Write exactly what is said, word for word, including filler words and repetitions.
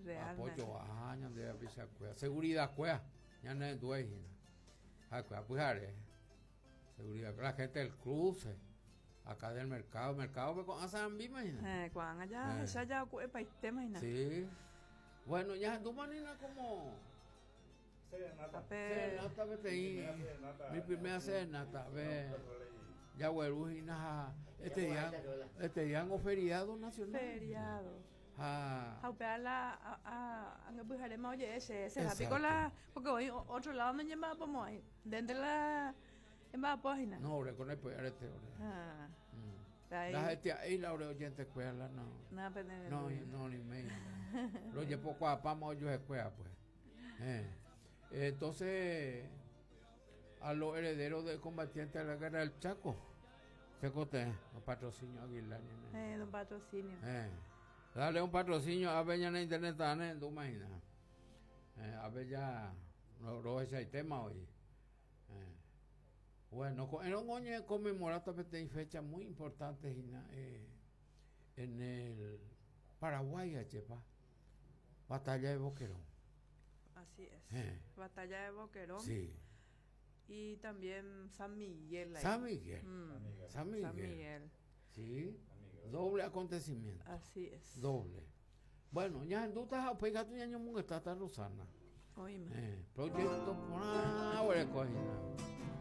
Realmente. Apoyo a ñande rapichakuéra. Seguridad kuéra, ñane hína. Ha'ekuéra pyhare. Seguridad, la gente del cruce, acá del mercado, mercado pe ko'ã sarambi imagina. Eh, ko'ág̃a ja Eh. hecha ja oku'epaite imagina. Sí. Bueno, ya manina como Serenata. Tape serenata peteĩ Mi primera serenata. mi primera serenata ve jagueru hína ha este día este día feriado nacional. Feriado. Ha Ha upéva la a a angapyharéma oje'e che será piko Exacto. la porque hoy otro lado no ñemba'apomo'ãi ndénte la emba'apo hína. No, ore con el arete ore. Ah, Mm. ahí. La gente ahí la ore oyente escuela no. Nada pene No, no, ni me. Lo llevo cuapamos yo escuela pues. Eh. Entonces a los herederos de combatientes de la guerra del Chaco, se cote, un patrocinio Aguilar. Eh, don patrocinio. Eh. Dale un patrocinio a Beña en internet, ¿no? Imagina. Eh, a ver ya, no, no ese tema hoy. Eh. Bueno, era un año conmemorar también fecha muy importante eh, en el Paraguay, chepa. Batalla de Boquerón. Así es. Eh. Batalla de Boquerón. Sí. Y también San Miguel. Ahí. San Miguel. Mm. San Miguel. San Miguel. Sí. Doble acontecimiento. Así es. Doble. Bueno, ya en duda, pues tu ñaño munga está Rosana. Oíme. Eh, proyecto por ahora cogina.